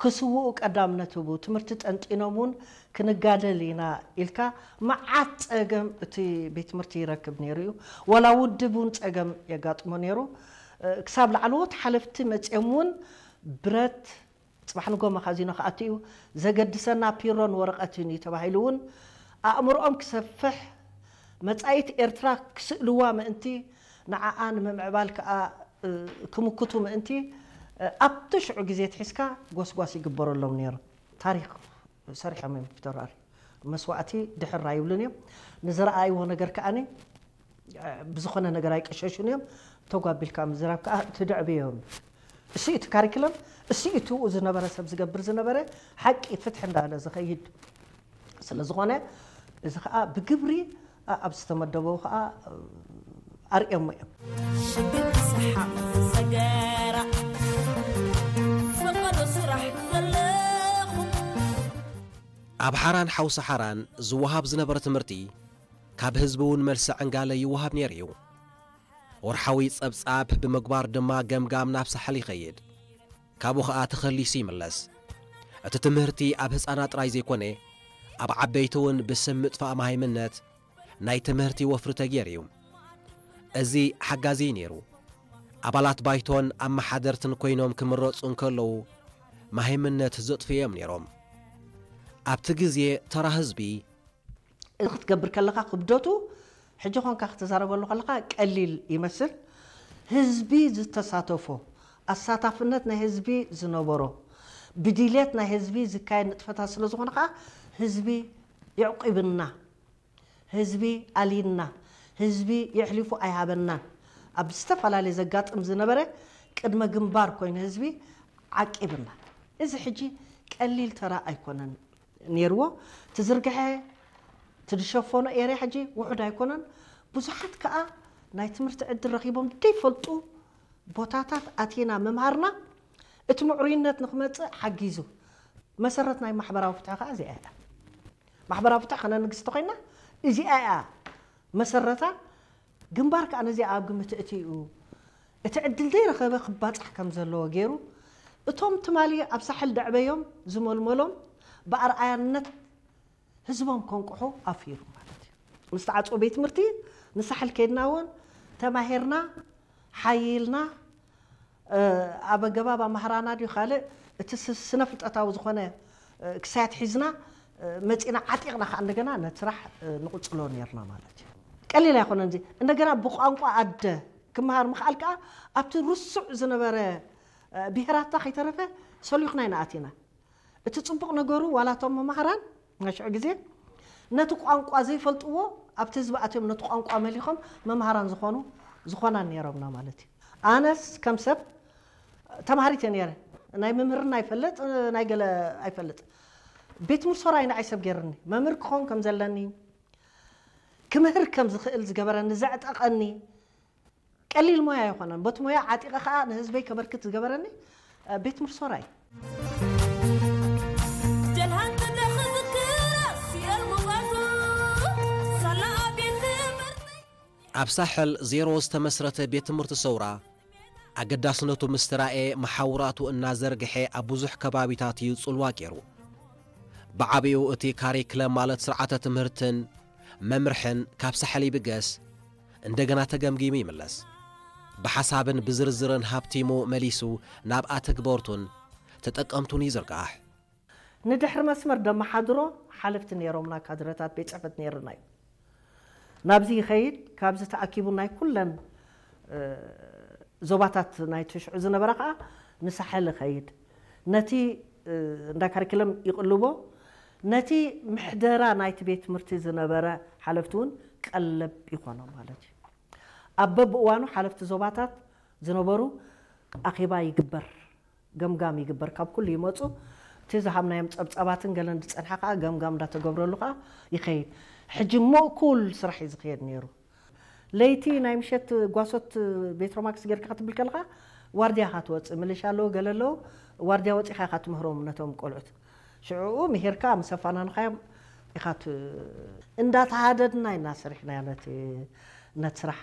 ክስውኡ ቀዳምነት ህቡ፣ ትምህርቲ ጠንጢኖም እውን ክንጋደል ኢና ኢልካ መዓት ጸገም እቲ ቤት ትምህርቲ ይረክብ ነይሩ እዩ። ዋላ ውድብ እውን ጸገም የጋጥሞ ነይሩ። ክሳብ ላዕለዎት ሓለፍቲ መጺኦም እውን ብረት ጽባሕ ንጎ መኻዚኖ ክኣቱ እዩ፣ ዘገድሰና ፒሮን ወረቐትን እዩ ተባሂሉ እውን ኣእምሮኦም ክሰፍሕ፣ መጻኢት ኤርትራ ክስእልዋ ምእንቲ፣ ንዓኣ ንምምዕባል ከኣ ክምክቱ ምእንቲ ኣብቲ ሽዑ ግዜ ትሒዝካ ጎስጓስ ይግበረሎም ነይሩ። ታሪኽ ሰሪሖም እዮም ፊተውራሪ። መስዋእቲ ድሕር ኣይብሉን እዮም። ንዝረኣይዎ ነገር ከኣኒ ብዝኾነ ነገር ኣይቀሸሹን እዮም። ተጓቢልካ ምዝራብ ከዓ ትድዕብዮም። እሱ እቲ ካሪክለም፣ እሱ እቲ ዝነበረ ሰብ ዝገብር ዝነበረ ሓቂ ፍትሒ እንዳለ ዝኸይድ ስለ ዝኾነ፣ እዚ ከዓ ብግብሪ ኣብ ዝተመደበው ከዓ ኣርእዮሞ እዮም። ሽግር ሰሓቕ ሰገራ ፈቐዶ ስራሕ ዘለኹ። ኣብ ሓራን ሓውሲ ሓራን ዝወሃብ ዝነበረ ትምህርቲ ካብ ህዝቢ እውን መልሲ ዕንጋለ ይወሃብ ነይሩ እዩ። ወርሓዊ ጸብጻብ ብምግባር ድማ ገምጋም ናብ ሳሕል ይኸይድ። ካብኡ ኸኣ ተኸሊሱ ይምለስ። እቲ ትምህርቲ ኣብ ህጻናት ጥራይ ዘይኮነ፣ ኣብ ዓበይቲ እውን ብስም ምጥፋእ መሃይምነት ናይ ትምህርቲ ወፍሪ ተገይሩ እዩ። እዚ ሓጋዚ እዩ ነይሩ። ኣባላት ባይቶን ኣመሓደርትን ኮይኖም ክምረጹ እንከለዉ፣ መሃይምነት ዘጥፍኡ እዮም ነይሮም። ኣብቲ ግዜ ተራ ህዝቢ እዚ ክትገብር ከለኻ ክብደቱ ሕጂ ኾንካ ክትዛረበሉ ከለኻ ቀሊል ይመስል። ህዝቢ ዝተሳተፎ፣ ኣሳታፍነት ናይ ህዝቢ ዝነበሮ፣ ብድልየት ናይ ህዝቢ ዝካየድ ንጥፈታት ስለ ዝኾነ ከዓ ህዝቢ የዕቂብና፣ ህዝቢ ኣልይና፣ ህዝቢ የሕሊፉ ኣይሃበናን። ኣብ ዝተፈላለየ ዘጋጥም ዝነበረ ቅድመ ግንባር ኮይኑ ህዝቢ ዓቂብና። እዚ ሕጂ ቀሊል ተራ ኣይኮነን ነይርዎ። ትዝርግሐ ትድሸፈኖ ኤርያ ሕጂ ውሑድ ኣይኮነን። ብዙሓት ከኣ ናይ ትምህርቲ ዕድል ረኺቦም ደይፈልጡ ቦታታት ኣቲና ምምሃርና እቲ ምዕሩይነት ንክመጽእ ሓጊዙ። መሰረት ናይ ማሕበራዊ ፍትሒ ከኣ እዚኣ እያ። ማሕበራዊ ፍትሒ ከነንግስ ተኾይና እዚኣ እያ መሰረታ። ግንባር ከኣ ነዚኣ ኣብ ግምት እትዩ እቲ ዕድል ዘይረኸበ ክባጻሕ ከም ዘለዎ ገይሩ፣ እቶም ትማሊ ኣብ ሳሕል ደዕበዮም ዝመልመሎም ብኣርኣያነት ህዝቦም ከንቅሑ ኣፍይሩ ማለት እዩ። ምስ ተዓጽወ ቤት ትምህርቲ ንሳሕል ከይድና እውን ተማሂርና፣ ሓይልና፣ ኣብ ኣገባብ ኣምሃራና ድዩ ካልእ፣ እቲ ስ-፣ ስነ ፍልጠታዊ ዝኾነ ክሳያት ሒዝና መጺና ዓጢቕና ከኣ እንደገና ነቲ ስራሕ ንቕጽሎ ነርና ማለት እዩ። ቀሊል ኣይኮነን እዚ። እንደገና ብቋንቋ ኣደ ክመሃር ምኽኣል ከኣ ኣብቲ ርሱዕ ዝነበረ ብሄራታ ከይተረፈ ሰሊኹና ኢና ኣቲና። እቲ ጽቡቕ ነገሩ ዋላ እቶም መማህራን ናይ ሽዑ ግዜ ነቲ ቋንቋ ዘይፈልጥዎ ኣብቲ ህዝቢ ኣትዮም ነቲ ቋንቋ መሊኾም መማህራን ዝኾኑ ዝኾና ነይሮምና ማለት እዩ። ኣነስ ከም ሰብ ተማሃሪት እየ ነይረ። ናይ መምህርና ኣይፈልጥ፣ ናይ ገለ ኣይፈልጥ። ቤት ትምህርቲ ሶራይ ንዓይ ሰብ ገይርኒ። መምህር ክኸውን ከም ዘለኒ፣ ክምህር ከም ዝኽእል ዝገበረኒ፣ ዘዕጠቐኒ፣ ቀሊል ሞያ ኣይኮነን። በቲ ሞያ ዓጢቐ ኸኣ ንህዝበይ ከበርክት ዝገበረኒ ቤት ትምህርቲ ሶራይ። ደልሃን ተደኺ ዝክራ ሲኦል ሙቐቱ ሳላ ቤት ትምህርቲ። ኣብ ሳሕል ዜሮ ዝተመስረተ ቤት ትምህርቲ ሰውራ ኣገዳስነቱ ምስ ተራእየ መሓውራቱ እናዘርግሐ ኣብ ብዙሕ ከባቢታት እዩ ጽልዋ ገይሩ። ብዓቢኡ እቲ ካሪክለም ማለት ስርዓተ ትምህርትን መምርሕን ካብ ሳሕል ይብገስ እንደገና ተገምጊሙ ይምለስ። ብሓሳብን ብዝርዝርን ሃብቲሙ መሊሱ ናብ ኣተግበርቱን ተጠቀምቱን ይዝርጋሕ። ንድሕሪ መስመር ደመሓድሮ ሓለፍቲ ነይሮምና፣ ካድረታት ቤት ጽሕፈት ነይርና እዩ። ናብዚ ይኸይድ፣ ካብዚ ተኣኪቡ ናይ ኩለን እ፣ ዞባታት ናይቲ ሽዑ ዝነበረ ኸኣ ንሳሕል ይኸይድ። ነቲ እ፣ እንዳ ካሪክለም ይቕልቦ፣ ነቲ ምሕደራ ናይቲ ቤት ትምህርቲ ዝነበረ ሓለፍቲ እውን ቀለብ ይኾኖ ማለት እዩ። ኣብ በብእዋኑ ሓለፍቲ ዞባታት ዝነበሩ ኣኼባ ይግበር፣ ገምጋም ይግበር፣ ካብ ኩሉ ይመጹ። እቲ ዝሃብናዮም ጸብጻባትን ገለን ዝጸንሐ ከኣ ገምጋም እንዳተገብረሉ ከኣ ይኸይድ። ሕጂ ምእኩል ስራሕ እዩ ዝኸየድ ነይሩ። ለይቲ ናይ ምሸት ጓሶት ቤትሮማክስ ጌርካ ክትብል ከለኻ ዋርድያ ኢኻ ትወጽእ። ምልሻ ኣለዉ፣ ገለ ኣለዉ። ዋርድያ ወጺኻ ኢኻ ትምህሮም ነቶም ቆልዑት። ሽዕኡ ምሂርካ ምስ ኣፋናንኻዮም ኢኻ ት-፣ እንዳተሃደድና ኢና ሰሪሕናዮ ነቲ፣ ነቲ ስራሕ።